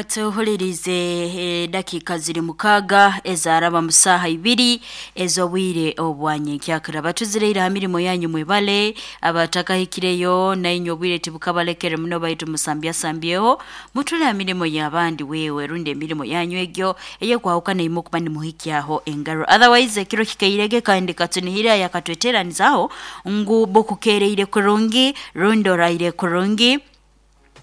Tuhulirize dakiika ziri 6 ezaraba mu saaha 2 ez'obwire obwanyenkyakara. Batuzireire ha mirimo yanyu mwebale, abatakahikireyo nainywe obwire tibukabalekere muno baitu musambyasambyeho mutule ha mirimo y'abandi wewe rundi emirimo yanyu egyo eyekwahukana imu okuba nimuhikyaho engaro. Otherwise ekiro kikairege kandi katunihira yakatweteranizaho ngu bukukereire kurungi rundi oraire kurungi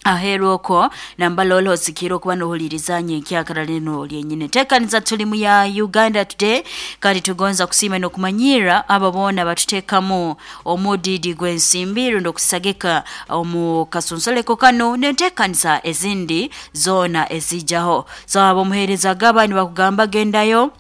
aheeru okwo nambala olo osikire okuba nohuliriza nyenkyakara lino lyenyini. Tekaniza tulimu ya Uganda Today kandi tugonza kusiima n'okumanyira abo boona batuteekamu omudidi gw'ensimbi rundi okusagika omu kasunsuleko kano n'enteekaniza ezindi zoona ezijaho. So abo omuheereza gaba nibakugamba gendayo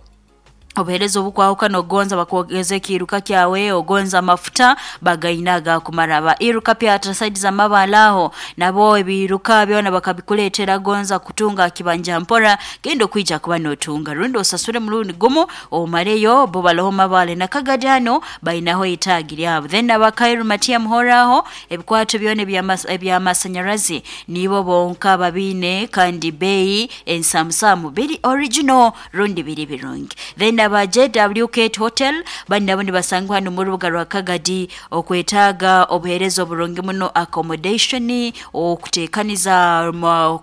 obuheereza obukwahukana ogonza bakwogeza ekiiruka kyawe, ogonza amafuta bagaina agakumara. Aba iruka pyata saidi z'amabaale aho nabo ebiiruka byona bakabikuleetera gonza kutunga kibanja mpora genda okwija kuba nootunga rundi osasure murundi gumu omareyo bo baloho mabaale na Kagadi hano bainaho itaagi lyabo. Then aba Kairu Matia Muhoraho ebikwato byona eby'amasanyarazi nibo bonka babiine kandi beeyi ensamusamu biri original rundi biri birungi. Then aba JW Kate Hotel bani nabo nibasangwa hano mu rubuga rwa Kagadi okwetaaga obuheereza oburungi muno, accommodation, okuteekaniza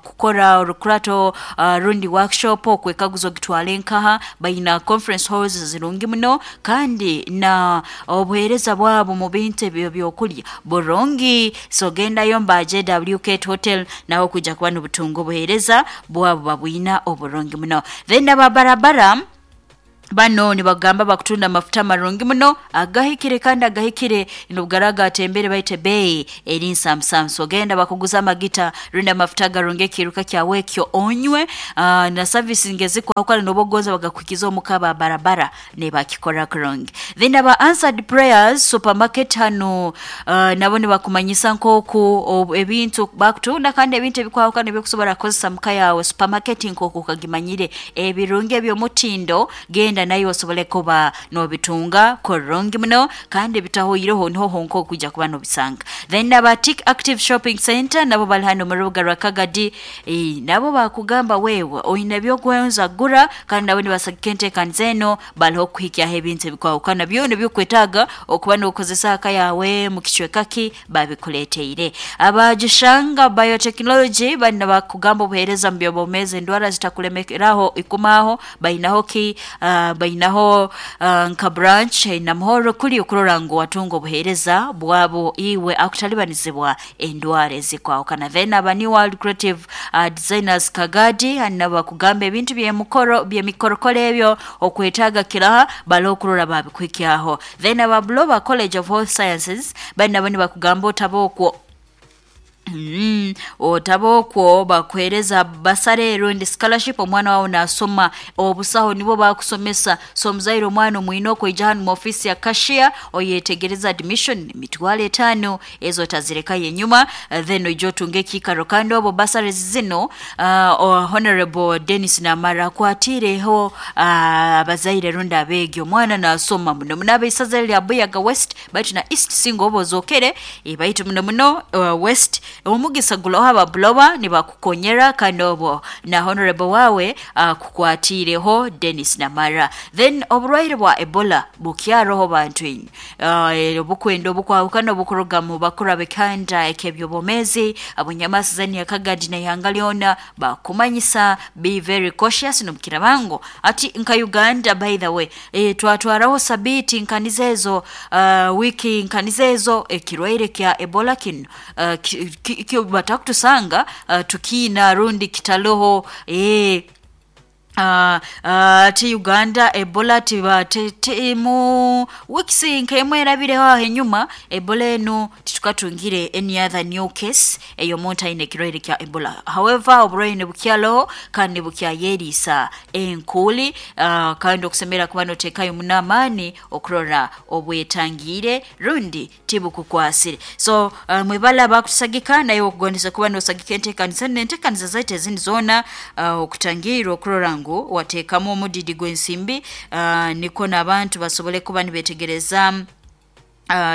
kukora orukurato rundi workshop, okwekaguza ogitwale nkaha, baina conference halls zirungi muno kandi na obuheereza bwabo mu bintu ebyo byokulya burungi. So gendayo mba JW Kate Hotel naho kwija kuba n'obutunga obuheereza bwabo babwina oburungi muno. Then aba barabara bano nibagamba bakutunda amafuta amarungi muno agahikire kandi agahikire nobugaraga atembere baite bei eri nsamusamu. So genda bakuguza amagita rundi amafuta agarungi ekiiruka kyawe ekyo onywe na service ngezikwahukana nobogonza bagakuhikiza omuka ba barabara nebakikora kurungi. Then aba Answered Prayers Supermarket hano nabo nibakumanyisa nk'oku ebintu bakutunda kandi ebintu ebikwahukana ebyokusobora kukozesa muka yawe. Supermarket nk'oku okagimanyire ebirungi eby'omutindo genda nayo osobole kuba nobitunga kurungi muno kandi bitahoireho niho honka okwijja kuba nobisanga. Then aba Tik Active Shopping Center nabo bali hano mu rubuga rwa Kagadi, nabo bakugamba wewe oine ebyokwenza gura kandi nabo nibasagika enteekaniza eno baliho kuhikyaho ebintu ebikwahukana byona ebyokwetaaga okuba nokozesa aka yawe mu kicweka ki babikuleeteire. Abagishanga Biotechnology bani bakugamba obuheereza mu by'obwomeezi endwara zitakulemeraho ikumaho bainaho ki bainaho nka branch namuhoro kuli okurora ngu watunga obuheereza bwabo iwe akutalibanizibwa endwara ezikwahukana. Then aba New World Creative Designers Kagadi nabo bakugamba ebintu by'emikoro by'emikorokoro ebyo okwetaaga kiraha baliho okurora babikuhikyaho. Then aba Buloba College of Health Sciences bani nabo nibakugamba otaba okwo otaba okwo bakuheereza basare rundi scholarship omwana wawe nasoma obusaho nibo bakusomesa. So omuzaire omwana omwine okwijja hanu mu office ya cashier oyetegereza admission 50,000 ezo otazirekayo enyuma, then oije otunge ekiikaro. Kandi obo bursaries zino Honorable Dennis Namara akwatireho abazaire rundi abeegi omwana nasoma muno muno abaisaza lya Buyaga West baitu na East singa oba ozokere, baitu muno muno West omugisa gulaho ababuloba nibakukonyera kandi obo na honorable wawe kukwatireho Dennis Namara. Then oburwaire bwa Ebola bukyaroho bantu inywe obukwenda obukwahukana obukuruga mu bakuru ab'ekihanda eky'ebyobwomeezi abunyamasi zani ya Kagadi n'ihanga lyona bakumanyisa be very cautious nomukirabango ati nka Uganda by the way, twatwaraho sabiti nkaniza ezo wiki nkaniza ezo ekirwaire kya Ebola kino batakutusanga tukiina rundi kitaloho ati Uganda Ebola tiba mu weeks nk'emwe erabireho aho enyuma Ebola enu titukatungire any other new case ey'omuntu aine ekirwaire kya Ebola. However oburwaire bukyaloho kandi bukyayeriisa enkuuli kandi okusemera kuba noteekayo muno amaani okurora obwetangiire rundi tibukukwasire. So mwebale abakutusagika naye okugondesa kuba nosagika enteekaniza n'enteekaniza zaitu ezindi zoona okutangiirwa okurora ngu wateekamu omudidi gw'ensimbi nikwo n'abantu basobole kuba nibeetegereza.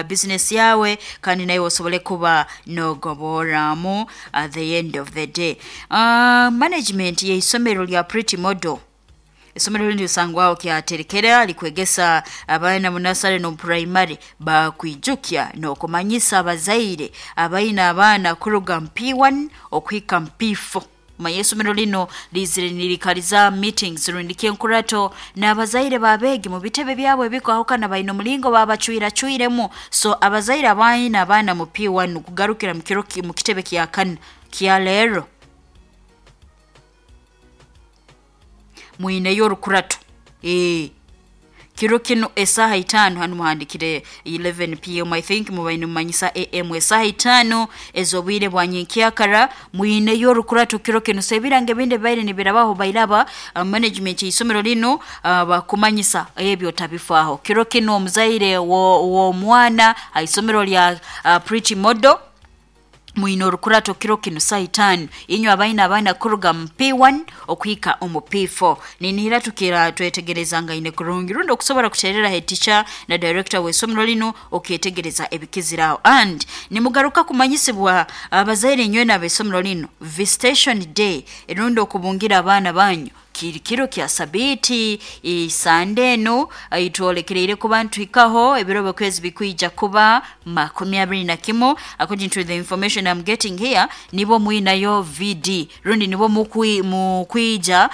Business yawe kandi nawe osobole kuba nogoboramu at the end of the day. Management y'isomero lya Pretty Model, isomero lindi lisangwaho kyaterekera likwegesa abaana mu nursery no primary, bakwijukya n'okumanyisa abazaire abaina abaana kuruga mu P1 okuhika mu P4. Manya isomero lino lizire nirikaliza meetings rundi enkurato n'abazaire babeegi mu bitebe byabo ebikwahukana, baine omulingo babacwiracwiremu. So abazaire abaina abaana mu P1 kugarukira mu kiro mu kitebe kya kana kya leero, mwineyo orukurato kiro kino esaaha 5. Hanu muhandikire 11 p.m., I think mubaine mumanyisa am, esaaha 5 ez'obwire bwa nyenkyakara mwineyo orukurato kiro kino. So ebirango ebindi bibaire nibirabaho bairaba management y'isomero lino bakumanyisa ebyo otabifaaho. Kiro kino omuzaire w'omwana ha isomero lya Pretty Model, mwine orukurato kiro kino saa 5, inywe abaina abaana kuruga mu P1 okuhika omu P4. Ninihira tukira twetegerezangaine kurungi, rundi okusobora kuterera head teacher na director w'isomero lino okyetegereza ebikiziraho. And nimugaruka kumanyisibwa abazaire inywena ab'isomero lino, visitation day rundi okubungira abaana banyu kiri kiro kya sabiiti isande eno itwolekereire kuba ntuhikaho ebiro byokwezi bikwija kuba 21. According to the information I'm getting here, nibo mwinayo VD rundi nibo mukwija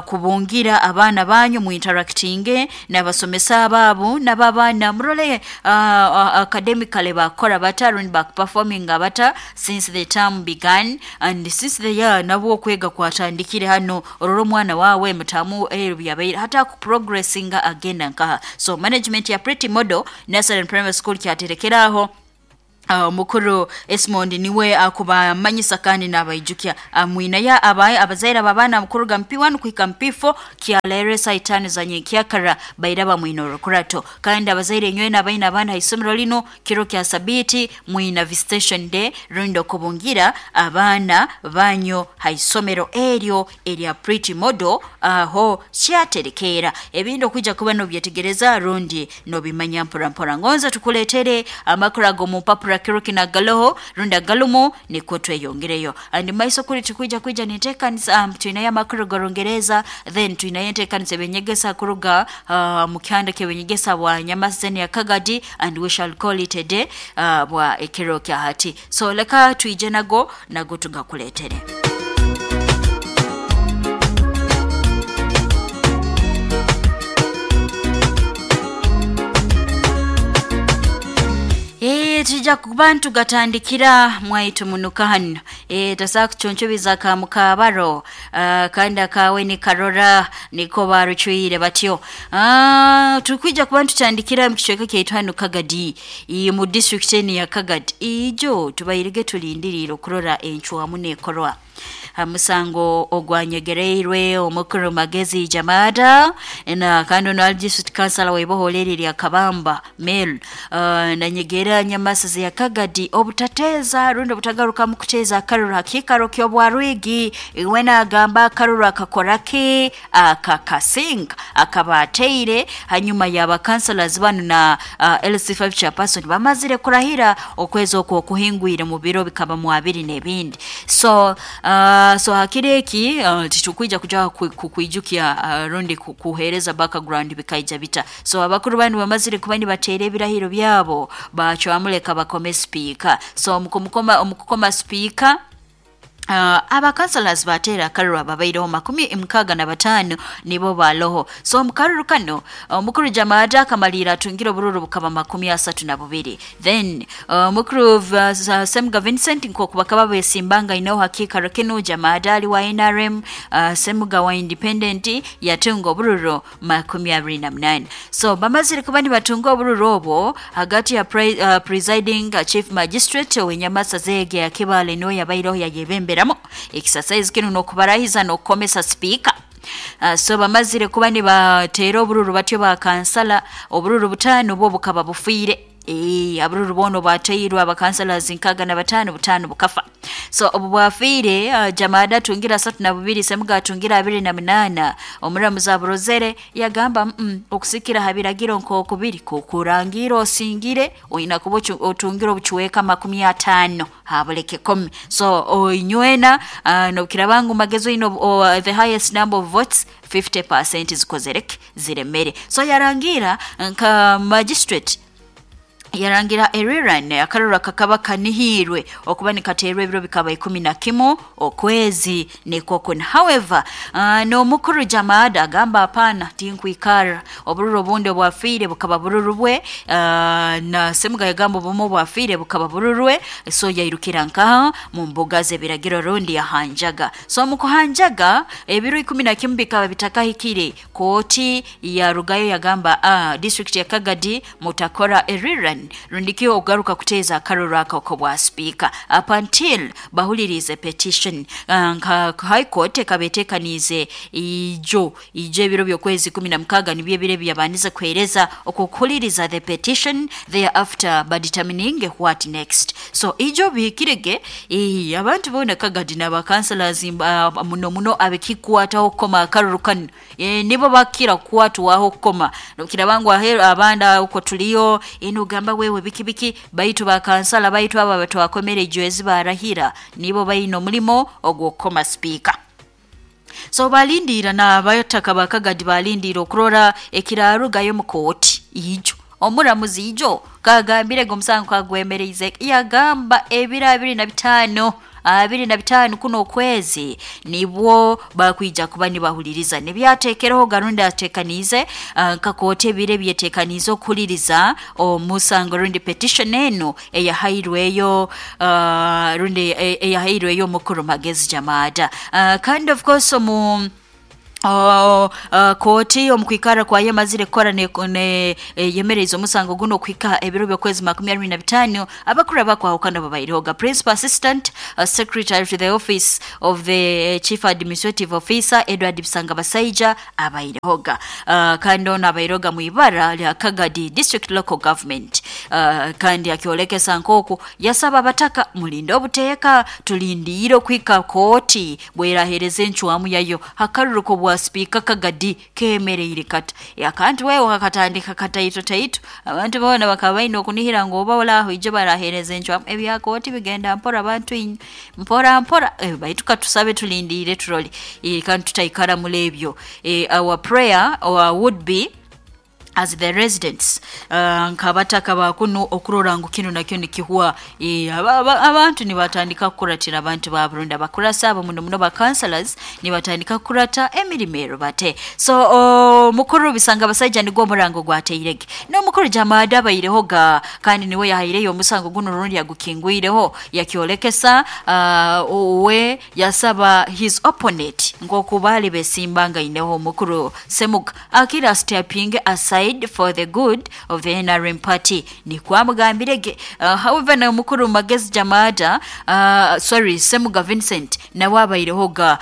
kubungira abaana banyu, muinteractinge n'abasomesa baabo n'ababaana, murole academically bakora bata rundi bakuperforminga bata since the term began and since the year nabwo okwega kwatandikire hano. Orora omwana wawe mutamu byabaire hata kuprogressinga agenda nkaha. So management ya Pretty Model Nursery and Primary School kyaterekeraho, omukuru Esmond niwe akubamanyisa kandi n'abaijukya mwinaya abazaire ababaana kuruga mu P1 kuhika mu P4 kyaleero saa 5 za nyenkyakara bairaba mwina orukurato. Kandi abazaire inywena abaina abaana ha isomero lino, kiro kya sabiiti mwina visitation day rundi okubungira abaana banyu ha isomero eryo erya Pretty Model aho kyaterekeera. Ebindi okwija kuba nobyetegereza rundi nobimanya mpora mpora. Ngonza tukuletere amakuru ago mu mpapura kiro kino agaloho rundi agalumu, nikwo tweyongereyo. And maiso kuri tukwija kwija ninteekanisa twinayo amakuru gorungereza, then twinayo enteekanisa ebinyegesa kuruga mu kyanda ky'ebinyegesa bwa Nyamaseni ya Kagadi, and we shall call it a day bwa ekiro kya hati. So leka twije nago nago tugakuletere. Tujja kuba ntugatandikira mwaitu munuka hano tasobola kucuncubiza ka mukabaro kandi akawe nikarora niko barucwire batyo. Tukwija kuba ntutandikira mu kicweka kyaitu hano Kagadi, mu district eni ya Kagadi. Ijo tubairige tulindirire okurora encwamu nekorwa musango ogwanyegereirwe omukuru Magezi Jamada, na kandi ono ali district councilor waiboholeri lya Kabamba Mel nanyegera Nyamasizi ya Kagadi obutateza rundi obutagaruka mu kuteeza akaruru hakikaro ky'obwarwigi. Iwe nagamba akaruru akakoraki akakasinga akaba ateire hanyuma yaba councilors bano na LC5 chairperson bamazire kurahira okwezi okwo okuhingwire mu biro bikaba mu abiri n'ebindi. So so hakiri eki titukwija kuja kukwijukya rundi kuhereza background bikaija bita. So abakuru banu bamazire kuba nibateera ebirahiro byabo, bacwamuleka bakome speaker. So omukukoma speaker, abakansalas bateera akaruru ababaireho 65 nibo baloho. So omukaruru kano omukuru Jamada akamalira atungire obururu bukaba 32. Then omukuru Semga Vincent nkoku bakaba besimbanga inaho hakikaro kino, Jamada ali wa NRM, Semga wa Independent, yatunga obururu 28. So bamazire kuba nibatunga obururu obwo hagati ya presiding chief magistrate wenyamasa zege ya Kibale niwe yabaireho yayebembera exercise kino nokubarahiza nokukomesa speaker. So bamazire kuba nibateera obururu batyo bakansala obururu 5 bwo bukaba bufiire. Abururu bono batairwe abakansalas 65, 5 bukafa. So obu bwafiire, Jamada atungira 32, Semuga atungira 28. Omuramuzi aburozere yagamba, okusikira ha biragiro nk'okubiri kukurangira osingire oyina kuba otungire obucweka 50 habuleke 10. So oinywena, nobukiraba ngu Magezi oyina the highest number of votes, 50% zikozereke ziremere. So yarangira nka magistrate yarangira eriran akarura kakaba kanihirwe okuba nikaterwa ebiro bikaba 11 okwezi nikwo. However, n'omukuru Jamada agamba, hapana, tinkwikara, obururu obundi obwafiire bukaba bururu bwe, na Semuga yagamba obumu obwafiire bukaba bururwe. So yairukira nkaha mu mbuga z'ebiragiro rundi yahanjaga. So mu kuhanjaga, ebiro 11 bikaba bitakahikire, kooti yarugayo yagamba, district ya Kagadi mutakora eriran rundikio ogaruka kuteeza akaruru ako bwa speaker up until bahulirize petition. Nka high court ekabetekanize ijo ijo ebiro by'okwezi 16, nibyo ebiro ebyabandize kuhereza okukuhuliriza the petition, thereafter badetermining what next. So ijo bihikirege, abantu bona Kagadi n'abakansalas, muno muno abekikwataho kukoma akaruru kanu, nibo bakira kukwatwaho kukoma. Nokiraba ngu aheru abandi uko tuliyo ino gamba wewe biki biki, baitu bakansala baitu aba batwakomere ejwezi barahira, nibo bayina omulimo ogw'okukoma speaker. So balindira n'abataka bakagadi balindira okurora ekirarugayo mu kooti ijo. Omuramuzi ijo kagambire omusango kagwemereize, yagamba ebiro 25, 25 kuno okwezi nibwo bakwija kuba nibahuliriza nibyatekereho garundi atekanize, nka kooti ebiro ebyetekanize okuhuliriza omusango rundi petition eno eyahairweyo, rundi eyahairweyo omukuru Magezi Jamada. Kandi of course omu kooti omukwikara kwayo emazire kukora ne yemereza omusango guno okuhika ebiro by'okwezi 25. Abakuru abakwahukana babairehoga: principal assistant secretary to the office of the chief administrative officer Edward Bisanga Basaija abairehoga, kandi ono abairehoga mu ibara lya Kagadi district local government, kandi akyolekesa nk'oku yasaba abataka, mulinde obuteeka, tulindiire okuhika kooti bwerahereza encwamu yayo hakaruruko bwa sipiika Kagadi kemereire kata. Akantu wewe kakatandika kataito taito, abantu boona bakaba baine okunihira ngu oba olaho ijo barahereza encwamu. Ebya kooti bigenda mpora, abantu inywe, mpora mpora, baitu katusabe tulindiire turole, kandi tutaikara muri ebyo. Our prayer or would be as the residents, nkabataka bakunu okurora ngu kino nakyo nikihwa. Abantu nibatandika kukuratira abantu ba Burundi abakurasa abo muno muno ba councillors nibatandika kukurata emirimo ero bate. So mukuru Bisanga Basaija nigwo omurango gwateirege n'omukuru Jamada abaireho ga, kandi niwe yahaireyo omusango guno rundi yagukingwireho, yakyolekesa, we yasaba his opponent nk'oku baali besimbangaineho omukuru Semuga akira stepping aside for the good of the NRM party, nikwamugambirege. However, na omukuru Magezi Jamada, sorry, Semuga Vincent nawe abaireho ga,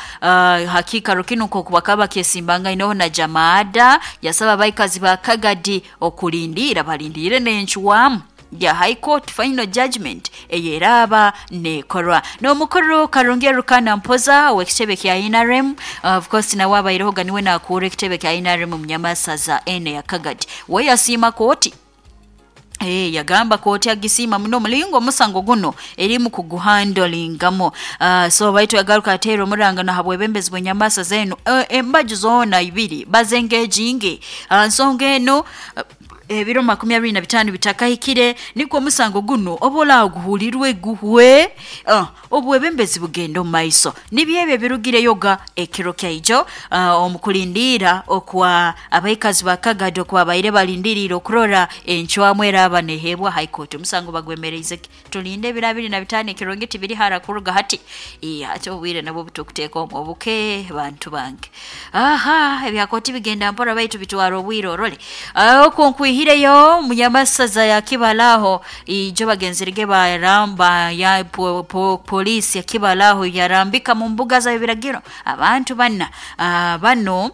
hakikaro kino nk'oku bakaba bakyesimbangaineho na Jamada, yasaba abaikazi ba Kagadi okulindira balindire n'encwamu ya high court final judgment eyeraba nekorwa. N'omukuru Karungi Rukana Mpoza w'ekitebe kya NRM, of course nawe abaireho ga, niwe nakuura ekitebe kya NRM Munyamasaza ene ya Kagadi, we yasiima kooti. Yagamba kooti agisiima muno omulingo omusango guno erimu kuguhandlingamo. So baitu yagaruka ateera omuranga na habwebembezi bw'enyamasa zenu, embaju zoona ibiri bazengejinge nsonga eno, ebiro 25 bitakahikire, nikwo omusango guno oba guhulirwe guhwe, obwebembezi bugenda omu maiso. Nibyo ebyo ebirugireyo ga ekiro kyaijo, omukulindiira okwa abaikazi ba Kagadi okuba baire balindiriire okurora encwamu eraba neheebwa high court. Omusango bagwemereize ki, tulinde ebiro 25, ekirungi tibiri hara kuruga hati. Ate obwire nabwo butukuteeka omu obuke bantu bange. Aha ebyakooti bigenda mpora baitu bitwara obwire orole. Okwo nkwihireyo munyamasaza ya Kibalaho, ijo bagenzerege baramba ya polisi ya Kibalaho yarambika mu mbuga za ebiragiro abantu bana. Bano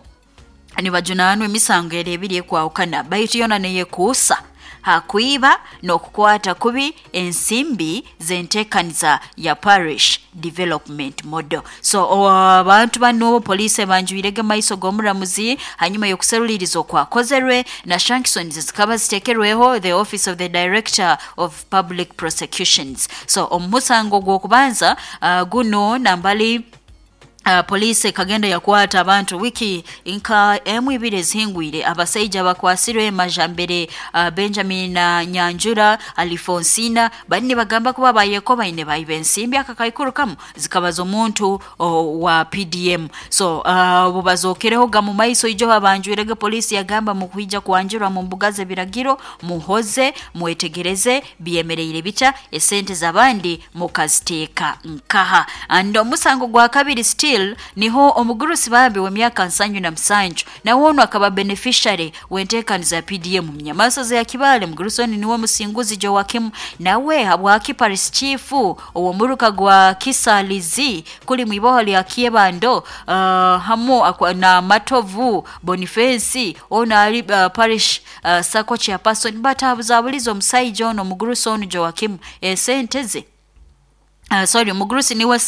nibajunanwa emisango eri ebiri ekwahukana, baitu yona neyekuusa Hakwiba n'okukwata kubi ensimbi z'enteekaniza ya Parish Development Model. So abantu bano poliisi ebanjwirege maiso g'omuramuzi hanyuma y'okuseruliriza okwakozerwe na sanctions zikaba zitekerweho the Office of the Director of Public Prosecutions. So omusango gw'okubanza guno nambali poliisi ekagenda yakwata abantu wiki nka emu ibiri ezihingwire. Abasaija bakwasirwe Majambere Benjamin na Nyanjura Alfonsina bali nibagamba kuba bayeko baine baiba ensimbi akakaikuru kamu zikabaza omuntu wa PDM. So obu bazokereho gamu maiso ijo babanjwirege, poliisi yagamba mukwija kwanjurwa mu mbuga z'ebiragiro, muhoze mwetegereze byemereire bita, esente z'abandi mukaziteeka nkaha. And omusango gwa kabiri still niho omugurusi bambi w'emyaka 77 nawe ono akaba beneficiary w'enteekaniza ya PDM munyamasozi ya Kibale. Mugurusi ono niwe Musinguzi Joakim, nawe habwaki parish chief ow'omuruka gwa Kisalizi kuli mwiboho lya Kyebando hamu na Matovu Boniface ono ali parish sacco chairperson batabuzabuliza omusaija ono omugurusi ono Joakim esente ze. Sorry, omugurusi niwe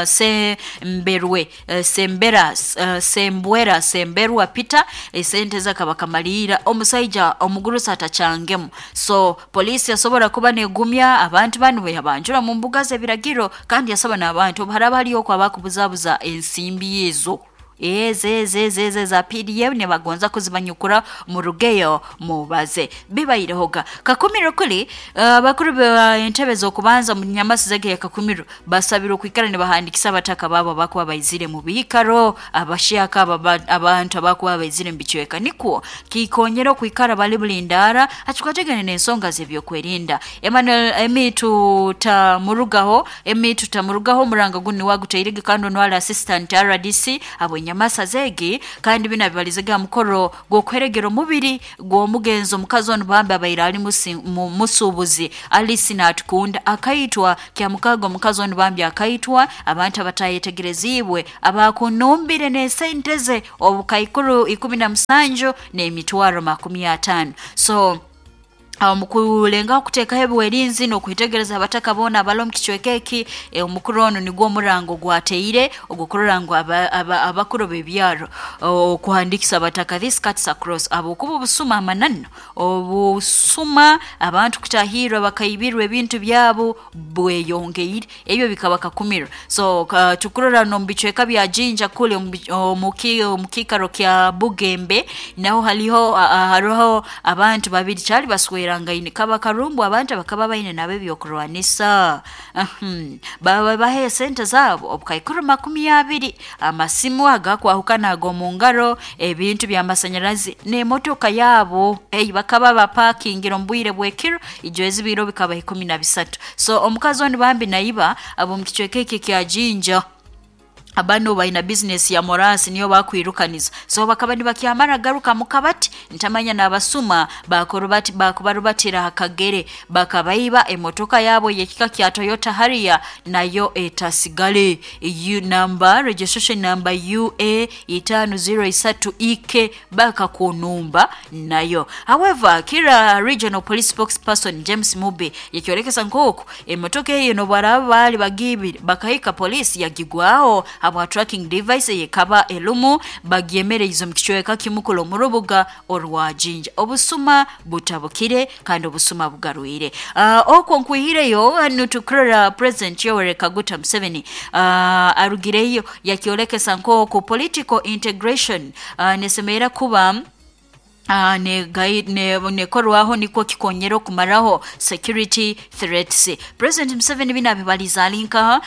Semberwe Sembera Sembwera Semberwa Peter, esente zakaba kamalira omusaija omugurusi atakyangemu. So poliisi yasobora kuba negumya abantu banu bwe yabanjura mu mbuga z'ebiragiro, kandi yasaba n'abantu haraba hariyo okwo abakubuzabuza ensimbi ezo eze za PDM nibagonza kuzibanyukura murugeyo mubaze bibairehoga. Kakumiro kuli abakuru ba entebe z'okubanza mu nyamasi zege ya Kakumiro basabira okwikara nibahandikisa abataka babo abakuba baizire mu biikaro abashyaka abantu abakuba baizire mu bicweka, nikwo kikonyera okwikara bali bulindara akikwategane n'ensonga z'ebyokwerinda. Emmanuel Emitu tamurugaho Emitu tamurugaho omuranga guni wagutairege kandi onwala assistant RDC abo nyamasa zegi, kandi bina bibalizega mukoro gw'okweregera omubiri gw'omugenzi omukazi ono bambi abaire ali musuubuzi Alice Natukunda akaitwa kya mukago. Omukazi ono bambi akaitwa abantu abatayetegerezibwe abakunumbire n'esente ze obukaikuru 17 n'emitwaro 50. So mukulengaho kuteekaho ebiwerinzi n'okwitegereza abataka boona abali omu kicweka eki, omukuru ono nigwo omurango gwateire ogw'okurora ngu abakuru b'ebyaro okuhandikisa abataka. This cuts across ahabwokuba obusuma amananu obusuma abantu kutahirwa bakaibirwa ebintu byabo bweyongeire, ebyo bikaba kakumiro. So tukurora n'omu bicweka bya Jinja kule omu kiikaro kya Bugembe naho haliho hariho abantu babiri kyali baswera rangaine kaba karumbu abantu bakaba baine nabo ebyokurwanisa baba bahe esente zabo obukaikuru 20, amasimu agakwahukana ag'omu ngaro, ebintu by'amasanyarazi n'emotoka yabo ei bakaba bapakingira omu bwire bw'ekiro ijo ezibiro bikaba 13. So omukazi ono bambi naiba ab'omu kicweka eki kya Jinja abano baina business ya morasi niyo bakwirukaniza. So bakaba nibakyamara garuka mukabati ntamanya n'abasuma bakorobati bakubarubatira hakagere bakabaiba emotoka yabo yekika kya Toyota Harrier nayo etasigale U number registration number UA 503 EK bakakunumba nayo. However, Kira Regional Police spokesperson James Mube yakyolekesa nk'oku emotoka eyo nobaraba bali bagibire bakahika poliisi yagigwaho habwa tracking device yekaba elumu bagyemereize omu kicweka kimukulu omu rubuga orwa Jinja. Obusuma butabukire kandi obusuma bugarwire. Okwo nkwihireyo hanu tukurora President Yoweri Kaguta Museveni arugireyo yakyolekesa nk'oku political integration nesemeera kuba nekorwaho nikwo kikonyera okumaraho security threats. President Museveni bino abibaliza ali nkaha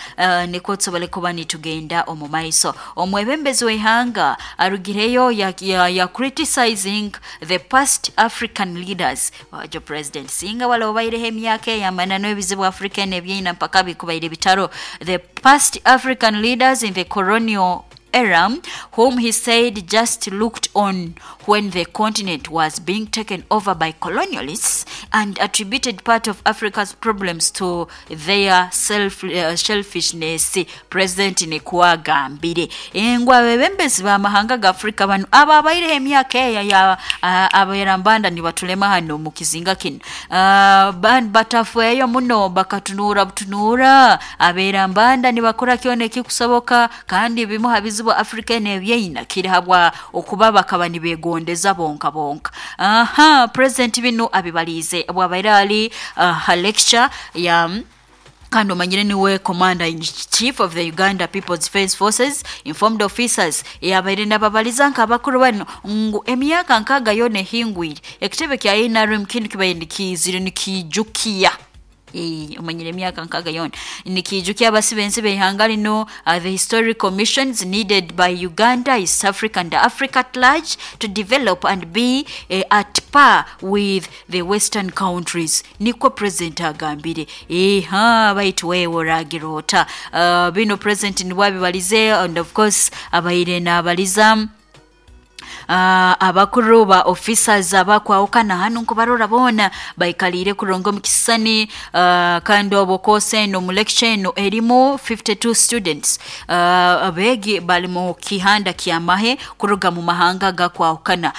nikwo tusobole kuba nitugenda omu maiso. Omwebembezi w'ihanga arugireyo ya criticizing the past African leaders. Wajo President singa wala obaireho emyaka ey'amanano ebizibu Africa n'ebyina mpaka bikubaire bitaro. The past African leaders in the colonial Eram, whom he said just looked on when the continent was being taken over by colonialists and attributed part of Africa's problems to their selfishness. President nikwagambire ngu abebembezi b'amahanga ga Afrika banu aba abaireho emyaka eya ya aberambanda nibatulema hano mu kizinga kino, batafeeyo muno, bakatunuura butunuura aberambanda nibakora kyona ekikusoboka, kandi bimu ha bizibu Afrika eno ebyeina kiri habwa okuba bakaba nibegondeza bonka bonka. Aha, President binu abibaliize bwabaire ali ha lecture ya, kandi omanyire niwe Commander in Chief of the Uganda People's Defence Forces, informed officers, yabaire nababaliza nk'abakuru bano ngu emyaka 60 yona ehingwire ekitebe kya NRM kinu kibaire nikizire nikijukiya. Omanyire emyaka 60 yona nikijukiya abasibe ensi b'eihanga lino, the historic commissions needed by Uganda, East Africa and Africa at large to develop and be at par with the western countries, nikwo President agambire. Eha, baitu wewe oragira ota? Bino President nibwabibalize, and of course abaire nabaliza abakuru ba officers abakwawukana hanu nkubarora boona baikaliire kurungi omu kisisani, kandi obwo course eno mu lecture eno erimu 52 students, abeegi bali mu kihanda ky'amahe kuruga mu mahanga gakwawukana,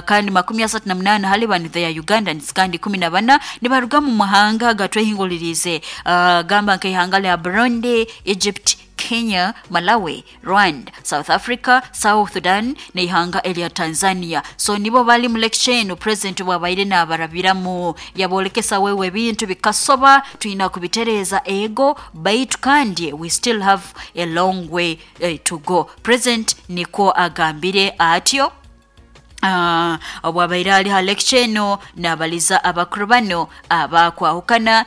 kandi 38 hali banu they are Ugandans, kandi 14 nibaruga mu mahanga gatwehingulirize, gamba nk'ihanga lya Burundi, Egypt, Kenya, Malawi, Rwanda, South Africa, South Sudan n'ihanga erya Tanzania. So nibo bali mu lecture eno President bwabaire nabarabiramu yabolekesa wewe ebintu bikasoba tulina kubitereeza ego, baitu kandi we still have a long way to go. President nikwo agambire atyo obwabaire ali ha lecture eno nabaliza abakuru bano abakwahukana,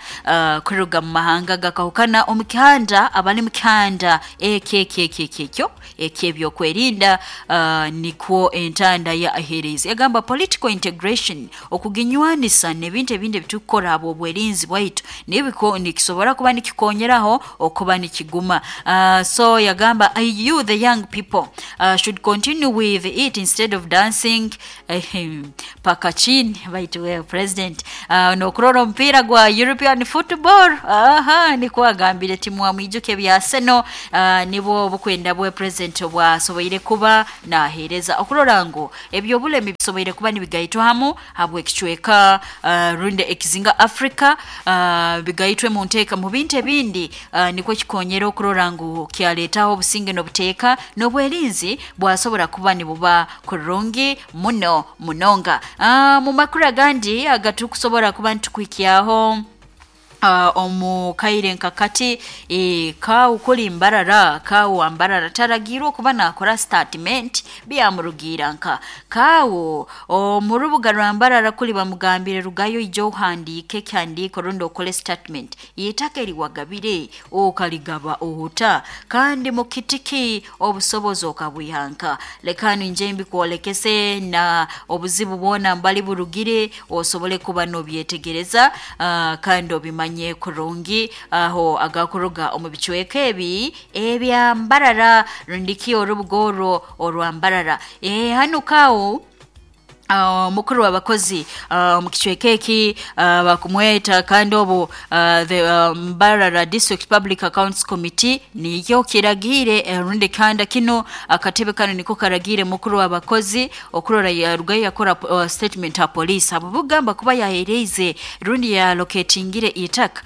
kuruga mu mahanga gakahukana omu kihanda, abali mu kihanda ekyekyekyekyo ekyebyokwerinda, nikwo entanda ya ahereza yagamba political integration, okuginywanisa n'ebintu ebindi ebitukukora abo obwerinzi bwaitu nibiko nikisobora kuba nikikonyeraho okuba nikiguma. So yagamba you the young people should continue with it instead of dancing paka chini. Baitu wewe President, nokurora omupiira gwa European football. Aha, nikwo agambire timwamwijuke bya Arsenal. Nibwo obukwenda bwe President obwasoboire kuba naheereza okurora ngu ebyobulemi bisoboire kuba nibigaitwa hamu habw'ekicweka, rundi ekizinga Africa, bigaitwe mu nteeka mu bintu ebindi, nikwo kikonyera okurora ngu kyaleetaho obusinge n'obuteeka n'obwerinzi bwasobora kuba nibuba kurungi muno munonga. Mu makuru agandi agatukusobora kuba nitukwikyaho omu kaire nkakati, kawu kuli Mbarara, kawu wa Mbarara taragirwe okuba nakora statement byamurugira nka kawu omu rubuga rwa Mbarara kuli bamugambire rugayo ija ohandiike ekihandiiko rundi okole statement itaka eriwagabire okaligaba ohuta kandi mukitiki obusobozi okabwihanka. Leka nje mbikwolekese na obuzibu bwona mbali burugire osobole kuba nobyetegereza, kandi obimanye kurungi aho agakuruga omu bicweka ebi ebya Mbarara rundiki orubuga orwo orwa Mbarara. Hanu kawo mukuru w'abakozi mu kicweka eki, bakumweta kandi obu the Mbarara District Public Accounts Committee niyo kiragire, rundi kanda kino akatebe kano niko karagire mukuru w'abakozi okurora yarugayo yakora statement ha police abo bugamba kuba yahereize rundi yalocatingire itaka,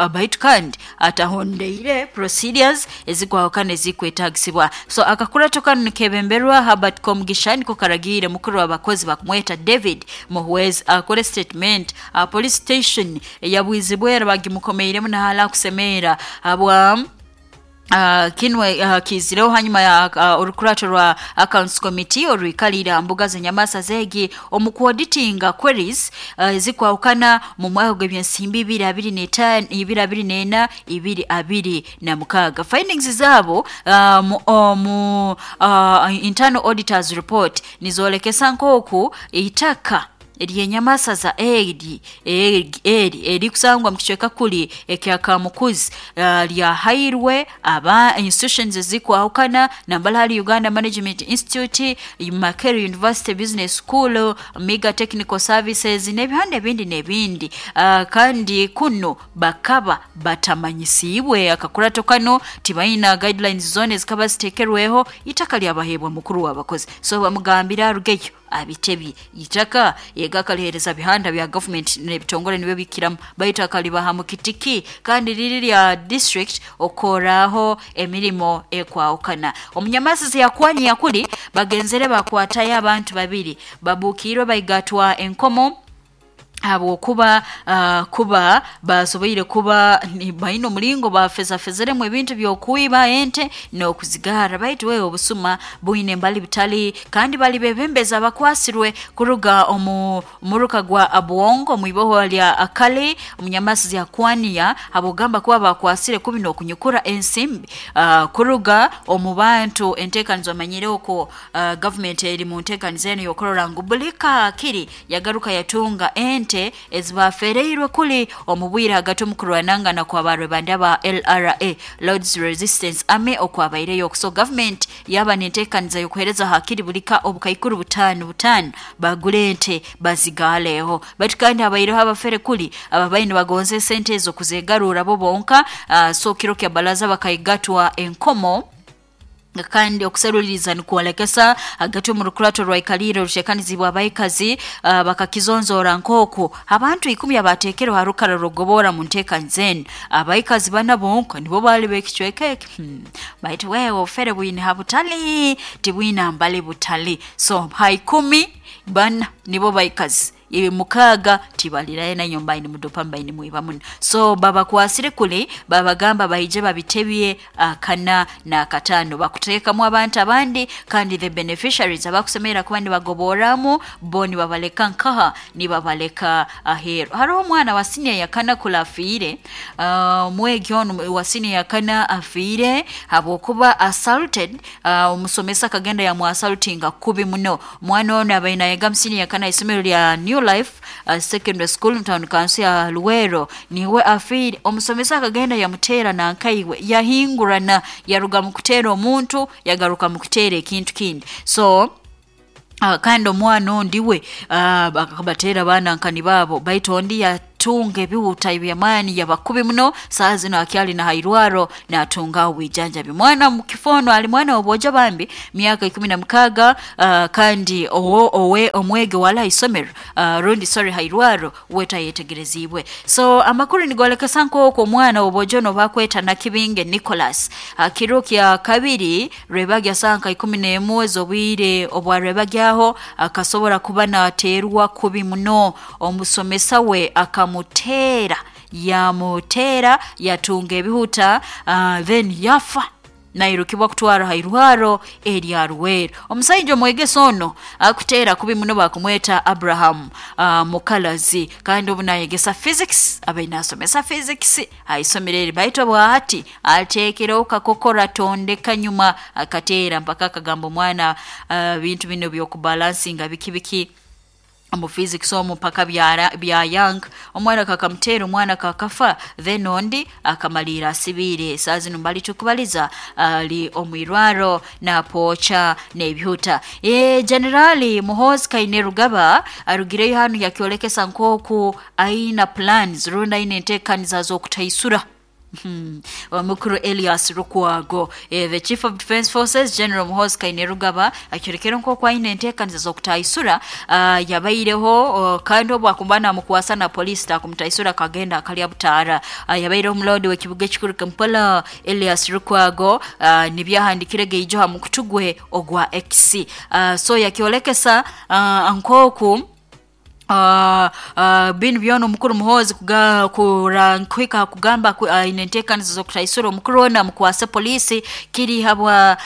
baitu kandi atahondeire procedures ezikwahukana ezikwetagisibwa. So akakurato kano nikebemberwa Herbert Komugisha, niko karagire mukuru w'abakozi bakumweta David Muhwezi akore statement police station yabwizibwera bagimukomeiremu nahala kusemera habwa kinwe kizireho hanyuma ya orukurato rwa Accounts Committee orwikalira mbuga z'enyamasa zegi omu kuauditinga queries ezikwahukana mu mwaka gw'ebyensimbi 2025 2024 2026. Findings zabo mu internal auditors report nizolekesa nk'oku itaka Eryenyamasaza eri eri kusangwa mu kicweka kuli ekya Kamukuzi lyahairwe aba institutions ezikwahukana nambala hali Uganda Management Institute, Makerere University Business School, Miga Technical Services n'ebihanda ebindi n'ebindi. Kandi kuno bakaba batamanyisiibwe akakurato kano, tibaina guidelines zone zikaba zitekerweho, itaka lyabahebwa mukuru w'abakozi. So bamugambira arugeyo abitebye itaka yega akalihereza bihanda bya government n'ebitongole nibyo bikiramu, baitu akalibaha mu kitiki kandi riri lya district okoraho emirimo ekwahukana. Omunyamasizi yakwani yakuli bagenzere bakwatayo abantu babiri babukirwe baigatwa enkomo habwokuba kuba basoboire kuba baine omulingo bafezafezeremu ebintu by'okwiba ente n'okuzigara. Baitu wewe obusuma bwine mbali butali, kandi bali bebembeza bakwasirwe kuruga omu muruka gwa Abwongo mwiboho lya Akale omunyamasizi yakwania habwogamba kuba bakwasire kubi n'okunyukura ensimbi kuruga omu bantu. Enteekanizo omanyire okwo government eri mu nteekanizo eno y'okurora ngu buli kaakiri yagaruka yatunga ente ezibafereirwe kuli omubwire hagati omukurwanangana kwa barwebanda ba LRA Lords Resistance Army okwabaireyo. So government yaba nenteekaniza y'okuhereza hakiri bulika obukaikuru butano butano bagule ente bazigaleho. Baitu kandi abaireho abafere kuli ababaine bagonze sente ezo kuzegarura bo bonka. So kiro kya balaza bakaigatwa enkomo kandi okuseruliriza nikuolekesa hagati omu rukurato rwaikalire oruteekanizibwa abaikazi bakakizonzora nk'oku abantu 10 abateekerwe ha rukara rugobora mu nteekaniza enu abaikazi bana bonka nibo baali b'ekicweka eki. Baitu wewe obufere bwine ha butali tibwina mbali butali. So ha 10 bana nibo baikazi, 6 tibalirayo na nyumba ini mudopa mbaini mwiba muno. So babakwasire kuli babagamba baije babitebye 4 na 5 bakuteekamu abantu abandi, kandi the beneficiaries abakusemera kuba nibagoboramu bo nibabaleka nkaha nibabaleka aheru. Hariho omwana wa senior yakana kula afiire, omwegi onu wa senior yakana afiire habwokuba assaulted. Omusomesa akagenda yamuassaultinga kubi muno. Omwana ono abaine nayega mu senior yakana isomero lya New Life Secondary School town council ya Luwero niwe afiire. Omusomesa akagenda yamuteera nankaiwe yahingurana, yaruga mu kuteera omuntu yagaruka mu kuteera ekintu kindi. So kandi omwana ondi we bakabateera baana nkani baabo, baitu ondi yatunga ebihuta ebyamaani yabakubi muno. Saa zino akyali na hairwaro natunga obwijanjabi. Mwana mukifono ali mwana obwojo bambi miaka 16, kandi owe omwege wala isomero rundi sorry hairwaro wetayetegerezibwe. So amakuru nigolekesa nk'okwo omwana obwojo no bakweta Nakibinge Nicholas kiro kya kabiri rwebagya sanka 11 ez'obwire obwa rwebagyaho akasobora kuba nateerwa kubi muno. Omusomesa we akamutera yamutera yatunga ebihuta then yafa nairukibwa kutwara hairwaro erya Ruweero. Omusajja omwegesa ono akuteera kubi muno bakumweta Abraham Mukalazi, kandi obu nayegesa physics abaine asomesa physics aisomero eri, baitu bwahati ateekereho kakokora tondeka nyuma akateera mpaka akagamba omwana bintu bino by'okubalansinga biki biki omu physics omu mpaka bya young. Omwana kakamutera omwana kakafa, then ondi akamalira asibiire. Saa zino mbali tukubaliza ali omwirwaro napoocha n'ebihuta. Generali Muhoozi Kainerugaba arugireyo hanu yakyolekesa nk'oku aina plans rundi aina enteekaniza z'okutaisura Omukuru Elias Lukwago. The Chief of Defense Forces General Muhoozi Kainerugaba akyorekere nk'oku aine enteekaniza z'okutaisura. Yabaireho kandi obu akumba namukwasa na poliisi takumutaisura kagenda akalya butaara. Yabaireho omulodi w'ekibuga ekikuru Kampala Elias Lukwago, nibyahandikire geijo ha mukutu gwe ogwa X. So yakyolekesa nk'oku binu byona omukuru Muhoozi kuhika kugamba aine enteekaniza z'okutaisura omukuru ono amukwase poliisi kiri habwa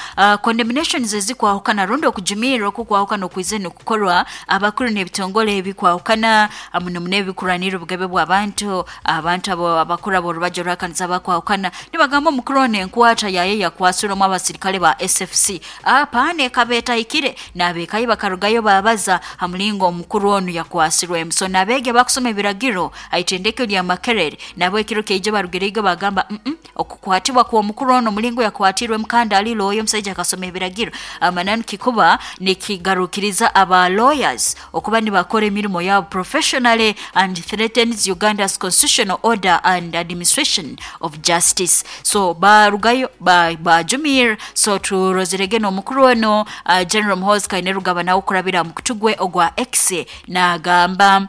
condemnations ezikwahukana rundi okujumirra okukwahukana okwize nikukorwa abakuru n'ebitongole ebikwahukana muno muno ebikuranira obugabe bw'abantu. Abantu abo abakuru ab'orubajo rw'akanisa bakwahukana nibagamba omukuru ono enkwata yaye yakwasirwemu abasirikale ba SFC apaana ekaba etahikire, n'abeekayi bakarugayo babaza ha mulingo omukuru onu yakwasirwe. Akwasirwemu. So n'abeegi abakusoma ebiragiro ha itendekero lya Makerere nabo ekiro kyaijo barugireigo bagamba okukwatibwa kw'omukuru ono, omulingo yakwatirwemu kandi ali lawyer, omusaija akasoma ebiragiro, amananu kikuba nikigarukiriza aba lawyers okuba nibakora emirimo yabo professionally and threatens Uganda's constitutional order and administration of justice. So barugayo bajumir. So turozerege n'omukuru ono, General Muhoozi Kainerugaba, nawe kurabira mu mukutu gwe ogwa X nagamba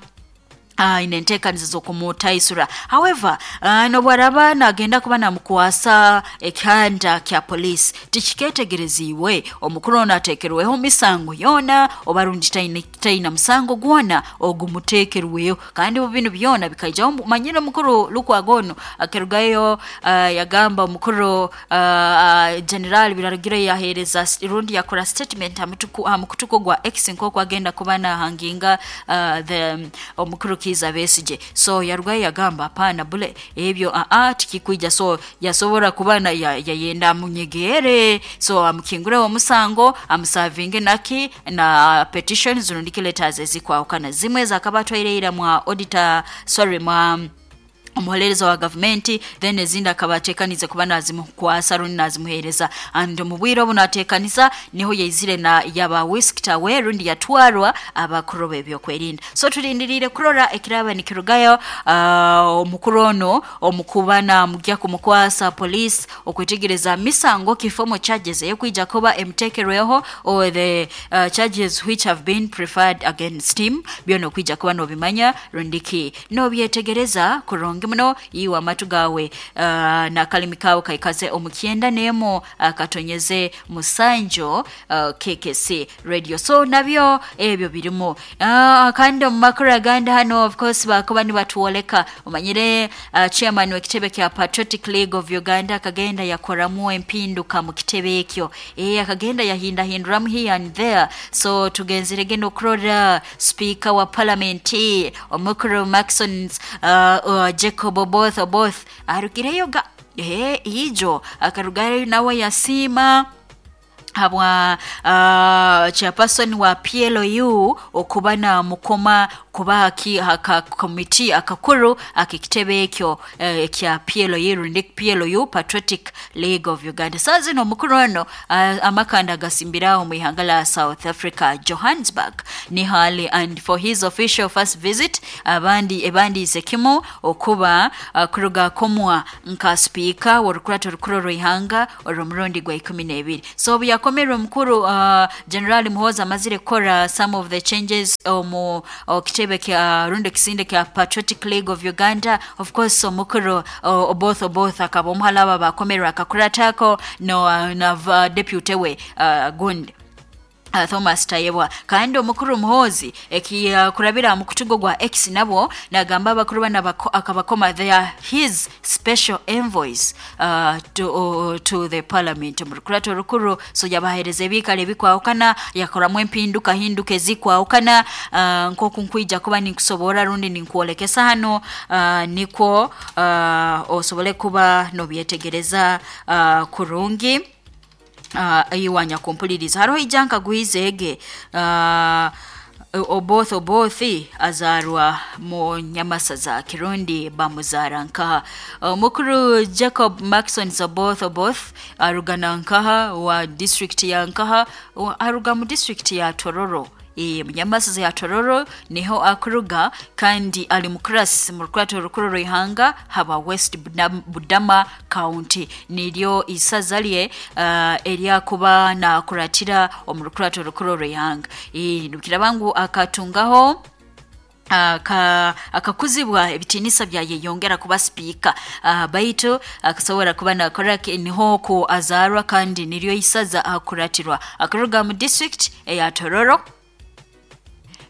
ine enteekaniza z'okumutaisura. However, nobwaraba nagenda kuba namukwasa ekihanda kya police, tikiketegereziibwe omukuru ono ateekerweho misango yoona oba rundi taina musango gwona ogumuteekerweho. Kandi binu byona bikaijaho, manyire omukuru Lukwago ono akerugayo, yagamba omukuru General Birarugire yaheereza rundi yakora statement ha mukutuko gwa X nk'oku agenda kuba nahanginga the omukuru Kiiza Besigye. So yarugayo yagamba hapana, bule ebyo tikikwija. So yasobora kuba yayenda amunyegere, so amukingureho omusango, amusavinge naki na petitions rundi letters ezikwahukana, zimwe zakaba atwaireira mwa auditor, sorry, mwa omuholereza wa gavumenti, then ezindi akaba ateekanize kuba nazimukwasa rundi nazimuheereza. And mu bwire obu nateekaniza niho yaizire na yaba whisked away rundi yatwarwa abakuru b'ebyokwerinda. So tulindiriire kurora ekiraba nikirugayo, omukuru ono omukuba namugya kumukwasa police, okwetegereza misango kifomo charges eyokwija kuba emuteekerweho or the charges which have been preferred against him. Byona okwija kuba nobimanya rundiki nobyetegereza kurungi muno. Iwe amatu gawe n'akalimi kawe kaikaze omu 91.7 KKC Radio. So nabyo ebyo birimu. Kandi omu makuru agandi hano, of course, bakuba nibatwoleka, omanyire chairman w'ekitebe kya Patriotic League of Uganda akagenda yakoramu empinduka mu kitebe ekyo, akagenda yahindahinduramu here and there. So tugenzerege n'okurora speaker wa parliament omukuru Maxon Jacob Oboth Oboth arugireyo ga ijo akarugayo nawe yasiima habwa chairperson wa PLU okuba namukoma kuba aka komiti akakuru ak'ekitebe ekyo ekya PLU rundi PLU, Patriotic League of Uganda. Saa zino omukuru ono amakanda agasimbiraho mu ihanga la South Africa, Johannesburg ni hali, and for his official first visit abandi ebandiise kimu okuba kuruga komwa nka speaker w'orukurato rukuru rw'ihanga orw'omurundi gwa 12. So obu yakomerwe omukuru General Muhoozi amazire kukora some of the changes omu kitebe kya rundi ekisinde kya Patriotic League of Uganda, of course omukuru Oboth Oboth akaba omuhalaba bakomerwe akakuratako no na deputy we gundi Thomas Tayebwa. Kandi omukuru Muhoozi ekikurabira mu mukutu gwa X nabwo nagamba abakuru bana akabakoma, they are his special envoys to the parliament mu rukurato rukuru. So yabahereza ebikalo ebikwahukana, yakoramu empinduka hinduka ezikwahukana, nk'oku nkwija kuba ninkusobora rundi ninkwolekesa hano, nikwo osobole kuba nobyetegereza kurungi. Iwanya kumpuliriza hariho ija nkaguhiza ege Oboth Oboth azarwa mu Nyamasaza, Kirundi bamuzara nkaha? Omukuru Jacob Maxon Oboth Oboth arugana nkaha wa district ya nkaha, aruga mu district ya Tororo, Munyamasaza ya Tororo niho akuruga, kandi ali mukurasi mu rukurato rukuru rw'ihanga haba West Budama County, niryo isaza lye eryakuba nakuratira omu rukurato rukuru rw'ihanga. Nukiraba ngu akatungaho akakuzibwa ebitiinisa byayeyongera kuba sipiika, baitu akasobora kuba nakora niho ku azarwa kandi niryo isaza akuratirwa, akuruga mu district eya Tororo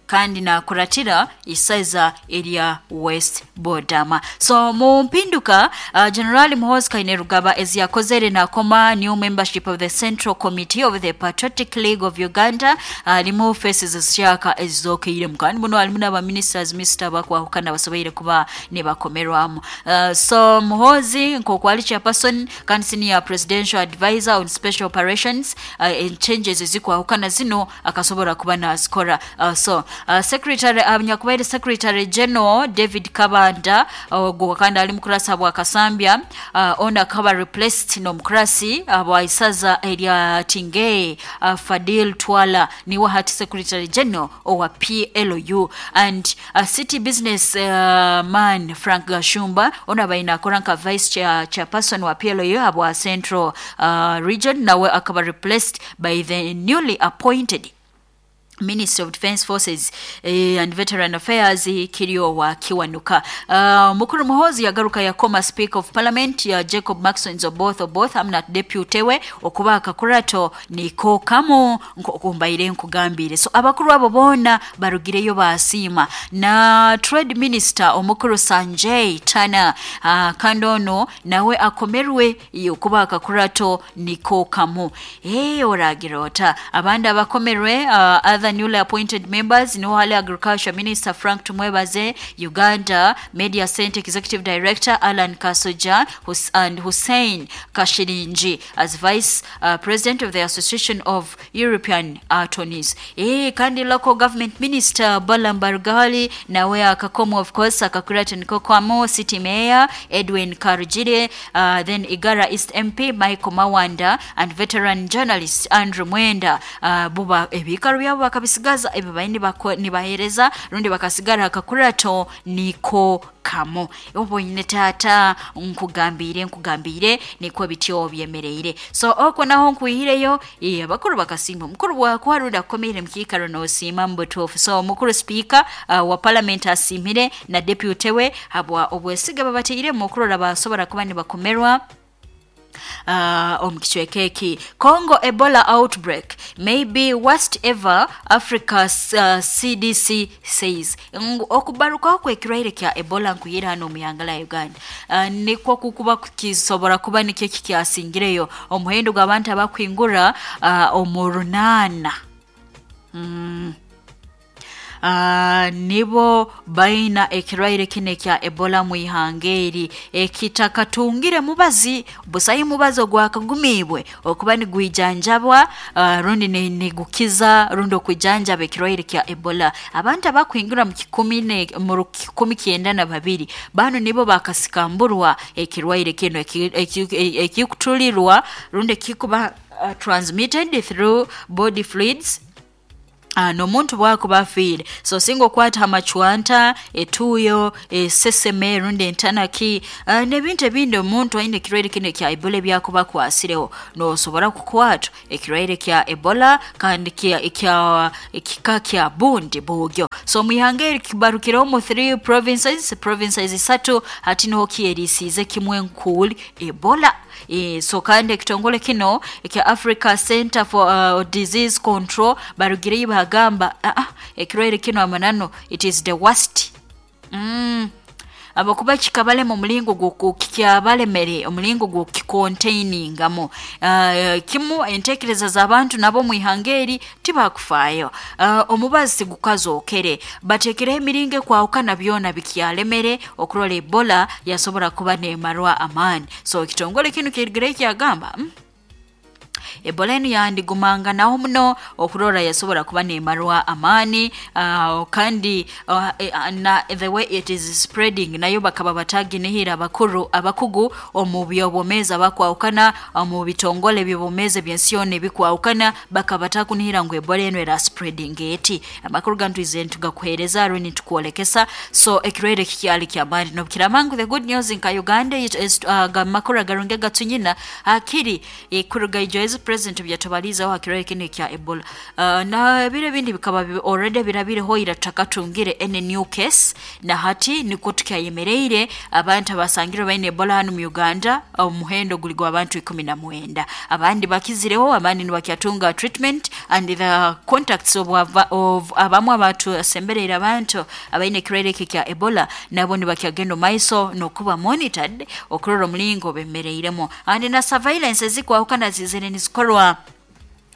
kandi nakuratira isaza erya West Bodama. So mu mpinduka General Muhoozi Kainerugaba eziyakozere, nakoma new membership of the Central Committee of the Patriotic League of Uganda, harimu faces zishaka ezizokeiremu, kandi muno harimu n'abaministers minisita bakwahukana basoboire kuba nibakomerwamu. So Muhoozi nk'oku ali chairperson kandi senior presidential advisor on special operations, changes ezikwahukana zino akasobora kuba nazikora. So Secretary nyakubaire Secretary General David Kabanda, ogwo kandi ali mukurasi bwa Kasambya, ono akaba replaced n'omukurasi bwa isaza erya Tingei, Fadil Twala niwe hati Secretary General owa PLU. And city business man Frank Gashumba, ono abaine akora nka vice chairperson wa PLU abwa Central Region, nawe akaba replaced by the newly appointed Minister of Defense Forces and Veteran Affairs, Kiryowa Kiwanuka. Mukuru Muhozi yagaruka yakoma Speaker of Parliament ya Jacob Maxon Oboth Oboth hamwe deputy we okuba akakurato niko kamu nkokumbaire nkugambire. So abakuru abo boona barugireyo basiima. Na Trade Minister omukuru Sanjay Tana, kandi ono nawe akomerwe okuba akakurato niko kamu. Oragira ota abandi abakomerwe, other newly appointed members niho hali Agriculture Minister Frank Tumwebaze, Uganda Media Center Executive Director Alan Kasoja and Hussein Kashirinji as Vice President of the Association of European Attorneys. Kandi Local Government Minister Balaam Barugahali nawe akakomo, of course akakurata niko kwamo City Mayor Edwin Karugire, then Igara East MP Michael Mawanda and veteran journalist Andrew Mwenda, buba ebikaro byabo bakabisigaza ebyo baine nibahereza rundi bakasigara akakurato niko kamo. Oboine tata nkugambire niko bityo byemereire. So okwo naho nkuyireyo abakuru bakasimba omukuru wakwa rundi akomere mukikaro nosima mbutufu. So omukuru speaker wa parliament asimire na deputy we habwa obwesiga babateire mukurora basobora kuba nibakomerwa omukicweka eki. Congo Ebola outbreak may be worst ever, Africa CDC says. Okubarukaho kwekirwaire kya Ebola nkuyira hano omuyangala ya Uganda, nikwo kukuba kisobora kuba nikyo kikyasingireyo omuhendo gw'abantu abakwingura omu 8. Nibo baina ekirwaire kino ekya Ebola mu ihanga eri ekitakatungire mubazi busayi mubazi ogwakagumibwe okuba nigwijanjabwa, rundi nigukiza rundi okwijanjaba ekirwaire kya Ebola. Abantu abakwingira mu 192 bano nibo bakasikamburwa ekirwaire kino ekikutulirwa rundi ekikuba transmitted through body fluids, n'omuntu bwakuba afiire. So singa okwata amacwanta, etuuyo, eseseme rundi entanaki, n'ebintu ebindi omuntu aine ekirwaire kino ekya Ebola ebyakuba akwasireho, nosobora kukwatwa ekirwaire kya Ebola kandi kika kya bundi bugyo. So mwihanga eri kibarukireho mu 3 provinces 3 hati niho kyerisiize kimwe nkuuli Ebola. So kandi ekitongole kino ekya Africa Center for Disease Control barugireyo bagamba ekirwaire kino amanano it is the worst. Abakuba kikabalema omulingo gw'okukyabalemere omulingo gw'okikontainingamu. Kimu entekereza z'abantu nabo mwihanga eri tibakufaayo. Omubazi gukazookere bateekereho emiringo ekwahukana byona bikyalemere okurora Ebola yasobora kuba neemarwa amaani. So ekitongole kino kirigireyo kyagamba Ebola enu yandigumanganaho muno okurora yasobora kuba nemarwa amaani, kandi na the way it is spreading nayo bakaba bataginihira abakuru abakugu omu byobwomeezi abakwahukana omu bitongole byobwomeezi ebyensi yoona ebikwahukana bakaba batakunihira ngu Ebola enu era spreading eti. Amakuru gantwize nitugakuheereza rundi nitukwolekesa. So ekirwaire kikyali kyamaani nobukiramangu. The good news nka Uganda is amakuru agarungi agatunyina akiri kuruga ijo president byatubalizaho hakirwaire kino ekya Ebola. Na ebiro ebindi bikaba already birabireho ira tutakatungire any new case, na hati niko tukyayemereire abantu abasangirwe baine Ebola hano mu Uganda omuhendo guli gw'abantu 19. Abandi bakizireho, abandi nibakyatunga treatment and the contacts of abamu abantu asembereire abantu abaine ekirwaire eki kya Ebola nabo nibakyagenda maiso n'okuba monitored okurora omulingo bemereiremu. And na surveillance ezikwahukana zizire nizikorwa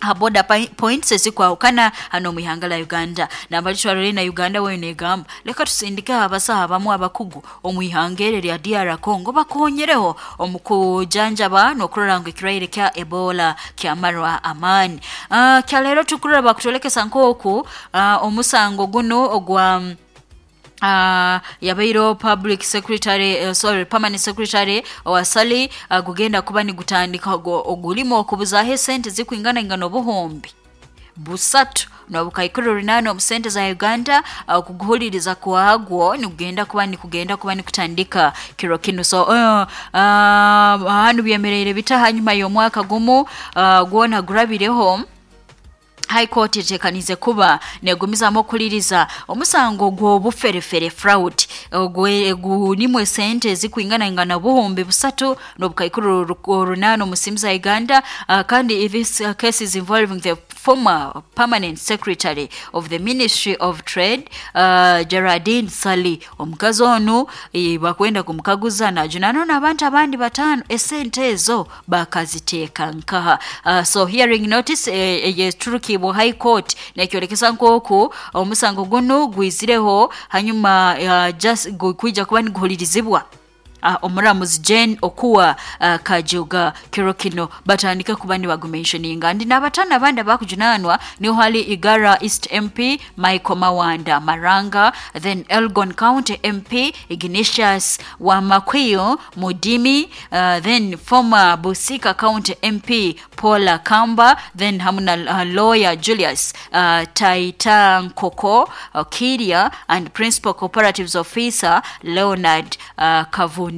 Ha border points ezikwahukana hano mu ihanga la Uganda. Nambali twarore na Uganda weyo negamba leka tusindike abasaha abamu abakugu omu ihanga eri lya DR Congo bakonyereho omu kujanjaba n'okurora ngu ekirwaire kya Ebola kyamarwa amaani. Kyaleero tukurora bakutolekesa nk'oku omusango guno ogwa yabairo public secretary, sorry, permanent secretary owasali gugenda kuba nigutandika ogulimu okubuzaho esente zikwingana ingana 3,800 omu sente za Uganda. Okuguhuliriza kwagwo nikugenda kuba nikutandika kiro kinu. So hanu byemereire bita hanyuma y'omwaka gumu gwona gurabireho? High Court etekanize kuba negumizamu okuliriza omusango gw'obuferefere, fraud, gunimu esente ezikwingana ingana 3,800 omu simu za Uganda. Kandi this case is involving the former permanent secretary of the Ministry of Trade, Geraldine Sali. Omukazi onu bakwenda kumukaguza najunano n'abantu abandi batano, esente ezo bakaziteeka nkaha? So hearing notice eyeturukibwa High Court nekyolekesa nk'oku omusango gunu gwizireho hanyuma just kwija kuba niguhulirizibwa omuramuzi Jane Okuwa Kajuga kiro kino, batandike kuba nibagumentioninga ndi n'abatano abandi abakujunanwa niho hali Igara East MP Michael Mawanda Maranga, then Elgon County MP Ignatius Wamakwiyo Mudimi, then former Busika County MP Paula Kamba, then hamu na lawyer Julius Taita Nkoko Kiria and principal cooperatives officer Leonard Kavundira.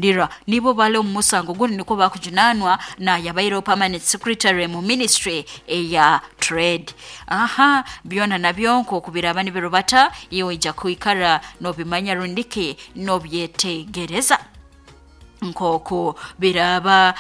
Nibo bali omu musango guno, niko bakujunanwa na yabaireho permanent secretary mu ministry eya trade. Aha byona nabyo nk'okubiraba nibirubata, iwe ija kwikara nobimanya rundiki nobyetegereza nk'oku biraba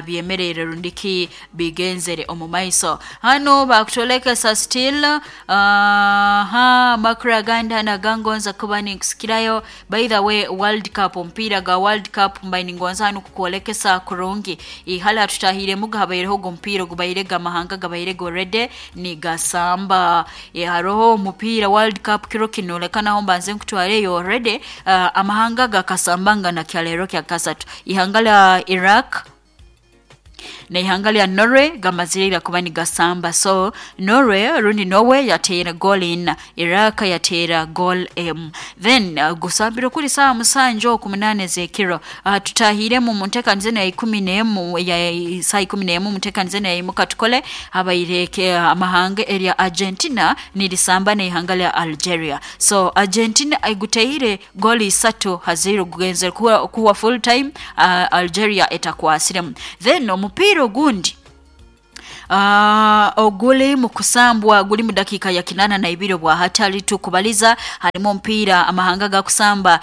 byemerere rundiki bigenzere omu maiso. Hano bakutolekesa still ha makuru agandi hano agangonza kuba ninkusikirayo. By the way, World Cup, omupiira ga World Cup, mbaye ningonza hano kukwolekesa kurungi ihali hatutahiremu habaireho ogu omupiira ogubaire gamahanga gabaire already nigasamba. Haroho omupiira World Cup kiro kino, leka naho mbanze nkutwareyo. Already amahanga gakasambanga na kyaleero kya kasatu, ihanga lya Iraq na ihanga lya Norway gamazire kuba nigasamba. So Norway rundi Norway yateera goal ina, Iraq yateera goal emu. Then gusambiro kuri 7 oku 8 ez'ekiro. Tutahiremu mu nteekaniza eno ya 11, ya saa 11 mu nteekaniza eno ya imuka tukole, habaire amahanga erya Argentina nirisamba n'ihanga lya Algeria. So Argentina eguteire goli 3-0, gugenzere kuwa full time, Algeria etakwasiremu. Then omupiira ogundi oguli mu kusambwa guli mu dakiika ya 82 bwa hatali tukubaliza, harimu omupiira amahanga gakusamba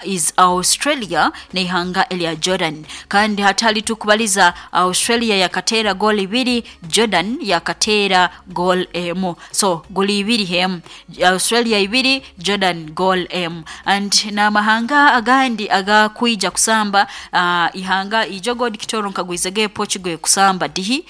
is Australia n'ihanga erya Jordan. Kandi hatali tukubaliza, Australia yakateera goal ibiri, Jordan yakateera goal emu. So goli ibiri hemu, Australia ibiri, Jordan goal emu. And n'amahanga agandi agakwija kusamba, ihanga ijo god kitoro nkagwizege Portugal kusamba dihi,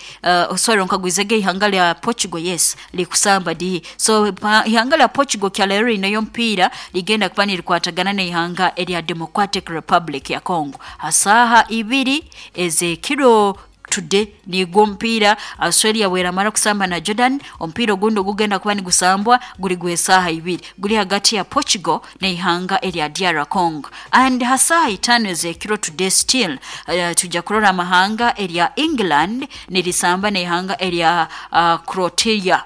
sorry, nkagwizege ihanga lya Portugal, yes, likusamba dihi. So ihanga lya Portugal kyaleero linayo mpira ligenda kuba nirikwatagana n'ihanga erya Democratic Republic ya Congo hasaha 2 ez'ekiro today. Nigwo omupiira Australia bweramara kusamba na Jordan, omupiira ogundi ogugenda kuba nigusambwa guri gw'esaaha 2, guri hagati ya Portugal n'ihanga erya DR Congo. And hasaha 5 ez'ekiro today still, tujja kurora amahanga erya England nirisamba n'ihanga erya Croatia,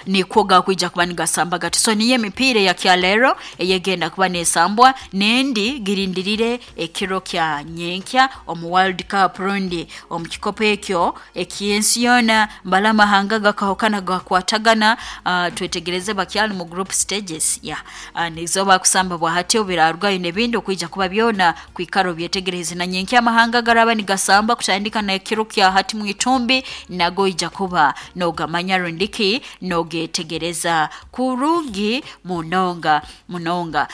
nikwo gakwija kuba nigasamba gati. So niyo emipiira ya kyaleero eyegenda kuba nesambwa, nendi girindirire ekiro kya nyenkya omu World Cup rundi omu kikopo ekyo eky'ensi yoona, mbala amahanga gakahukana gakwatagana. Twetegereze bakyali mu group stages ya nizo bakusamba bwa hati, obirarugayo n'ebindi okwija kuba byona kwikara obyetegereze. Na nyenkya amahanga garaba nigasamba kutandika na ekiro kya hati mwitumbi, nago ija kuba nogamanya rundiki nogetegereza kurungi munonga munonga.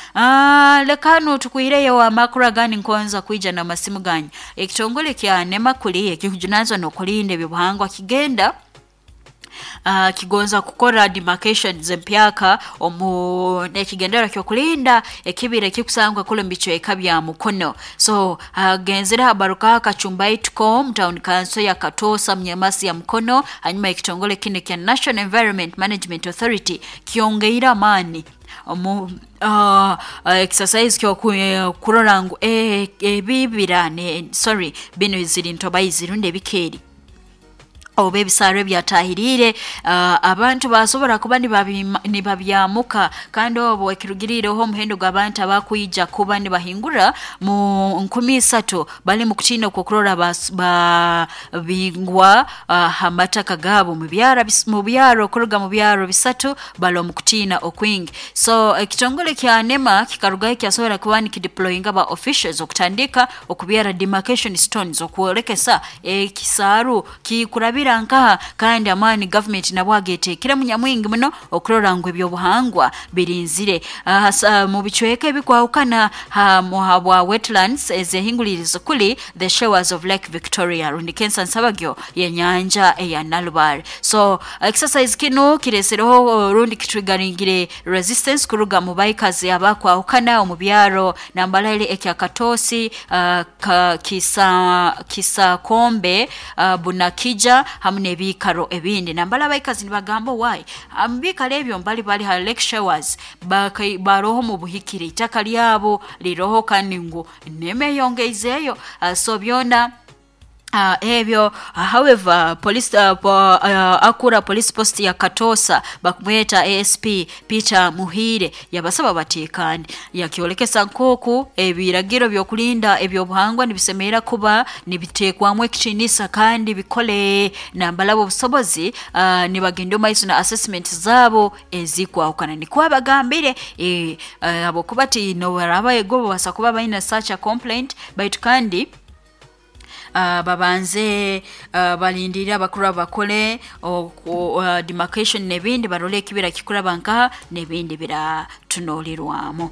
Lekano tukwireyo amakuru agandi nkonza kwija n'amasimu ganyu. Ekitongole kya NEMA kuli ekikujunanizwa n'okulinda ebyobuhangwa kigenda Kigonza kukora demarcations empyaka omu nekigendera kyokulinda ekibira ekikusangwa kule mu bicweka bya Mukono. So hagenzere habarukaho akachumbaituko town council ya Katosa Mnyamasi ya Mukono, hanyuma ekitongole kinu kya National Environment Management Authority kyongeire amaani omu exercise kyo kurora ngu ebibira sorry bino ziri ntobayi zirundi ebikeeri oba ebisaro ebyatahiriire abantu basobora kuba nibabyamuka, kandi obwo ekirugiriireho omuhendo gw'abantu abakwija kuba nibahingura mu 3,000 bali mu kutiina okwokurora babingwa ha mataka gaabo mu byaro kuruga mu byaro 3 bali omu kutiina okwingi. So ekitongole kya NEMA kikarugayo kyasobora kuba nikideployinga ba officials okutandika okubyara demarcation stones okwolekesa ekisaaru kikurabira nkaha, kandi amaani government nabwo agetekere munyamwingi muno okurora ngu ebyobuhangwa birinzire mu bicweka ebikwahukana habwa wetlands ezehingulirizo kuli the shores of Lake Victoria rundi kensa nsabagyo yenyanja eya Nalubale. So exercise kinu kiresereho rundi kitrigaringire resistance kuruga mu baikazi abakwahukana omu byaro nambalaile ekya Katosi, Kisakombe, Bunakija hamu n'ebiikaro ebindi. Nambala abaikazi nibagamba why mubikaro ebyo mbali bali ha lake showers baroho mu buhikire itaka lyabo liroho kandi ngu nemeyongeizeeyo. So byona ebyo however police akura police post ya Katosa bakumweta ASP Peter Muhire yabasaba batekane, yakyolekesa nkoku ebiragiro byokulinda ebyobuhangwa nibisemera kuba nibitekwamu ekitinisa kandi bikole nambalabo obusobozi nibagenda maiso na assessment zabo ezikwahukana. Nikwo abagambire abokuba ti nobaraba ego basa kuba baina such a complaint, baitu kandi babanze balindira abakuru abakole demarcation n'ebindi barole ekibira kikuraba nkaha n'ebindi biratunolerwamu.